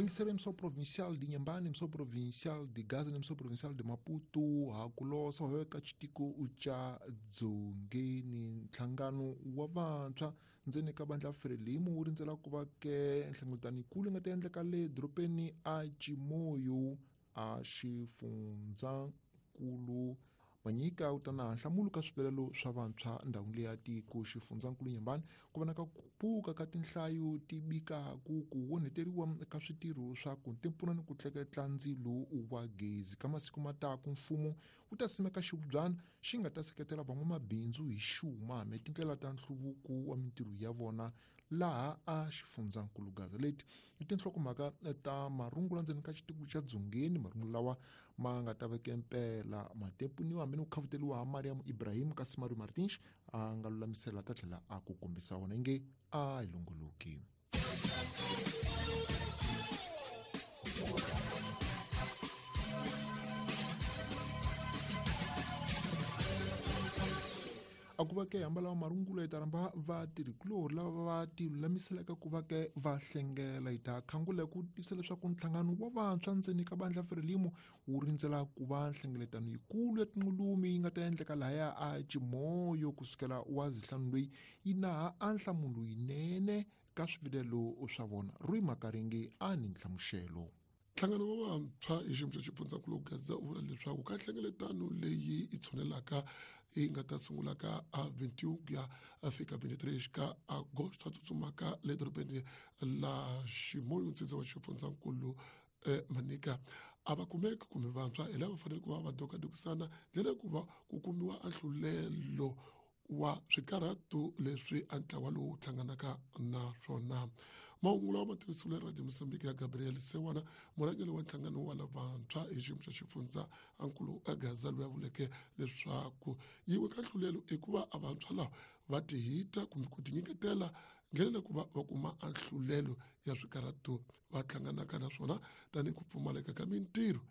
Ministério Emissão Provincial de Inhambane, Emissão Provincial de Gaza, Emissão Provincial de Maputo, Hakulosa, Weka Chitiko Ucha Dzongeni, Nhlangano wa vantshwa ndzeni ka vandla Frelimo wu rindzela ku va ke nhlengeletano yikulu yi nga ta endleka le dorobeni a Chimoio a xifundzankulu. Manyika u ta na nhlamulo ka swivilelo swa vantshwa ndhawini leyi ya tiko xifundzankulu Nyambani ku vonaka ku pfuka ka tinhlayo ti bikaku ku onheteriwa ka switirho swa ku tipfuna ni ku tleketla ndzilo wa gezi. Ka masiku ma taku mfumo wu ta simeka xihubyana xi nga ta seketela van'wamabindzu hi xuma hambi tindlela ta nhluvuko wa mintirho ya vona laha a xifundzankulu Gaza. Leti i tinhlokomhaka ta marungula ndzeni ka xitiko xa Dzongeni, marungula lawa ma nga ta veke mpela ma tepuniwa hambi ni ku khavuteliwa ha Mariam Ibrahim kasi Mario Martins a nga lulamisela ta tlhela a ku kombisa wona inge a hi longoloki. A ku va ke hamba lawa marungulo yi ta rhamba vatirhikulorhi lava va ti lulamiselaka ku va ke va hlengela. Yi ta khangula ku tivisa leswaku nhlangano wa vantshwa ndzeni ka vandla Frelimo wu rindzela ku va nhlengeletano yikulu ya tinqulumi yi nga ta endleka lahaya a Chimoio kusukela wa zihlanu loyi yi naha a nhlamulo yinene ka swivilelo swa vona. Rui Makaringi a ni nhlamuxelo. Nhlangano wa vantshwa hi xiyimo xa xifundzankulu Gaza u vula leswaku ka nhlengeletano leyi yi tshunelaka yi nga ta sungulaka a 21 ku ya fika 23 ka Agosto a tsutsumaka le dorobeni la Chimoio ntsindza wa xifundzankulu Manica a va kumeki kumbe vantshwa hi lava fanele ku va va dokadokisana ndlela ku va ku kumiwa ahlulelo wa swikarhato leswi a ntlawa lowu hlanganaka na swona. Mahungu lawa ma tivisiwile Radio Mozambique ya Gabriel Sewana, murhangeri wa nhlangano wa lavantshwa hi xiyimo xa xifundza ankulu a Gaza, loyi a vuleke leswaku yin'we ka nhlulelo i ku va a vantshwa lava va tihita kumbe ku tinyiketela ndlela ya ku va va kuma ahlulelo ya swikarhato va hlanganaka na swona tanihi ku pfumaleka ka mintirho,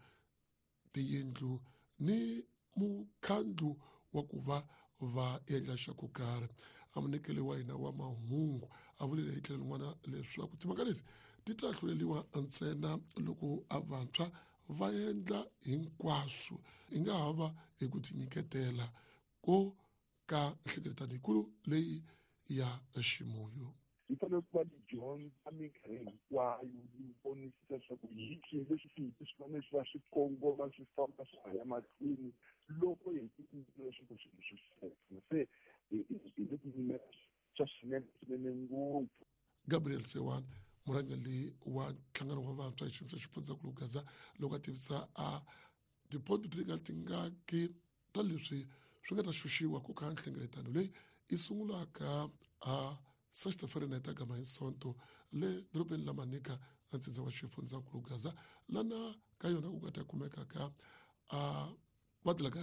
tiyindlu ni mukhandlu wa ku va va endla xa ku karhi. A munyikeli wa hina wa mahungu a vulile hi tlhelo rin'wana leswaku timhaka leti ti ta hluleliwa ntsena loko a vantshwa va endla hinkwaswo yi nga ha va hi ku tinyiketela ko ka nhlengeletano yikulu leyi ya Ximoyo. Yi fanele ku va yi dyondza minkarhi hinkwayo, yi vonisisa leswaku hi swihi leswi swi fanele swi va swi kongoma swi famba swa ha ya mahlweni loko hi ku leswaku swilo swi seka. Se hi le ku yimela swa swinene swinene ngopfu. Gabriel Sewan, murhangeri wa nhlangano wa vantshwa hi xiyimo xa xifundzankulu Gaza, loko a tivisa a tiponto ti nga ti nga ki ta leswi swi nga ta xuxiwa ku kha nhlengeletano leyi yi sungulaka a sexta-feira na ta gama hi Sonto le dorobeni la Manica la ntsindza wa xifundzankulu Gaza, lana ka yona ku nga ta kumeka ka a va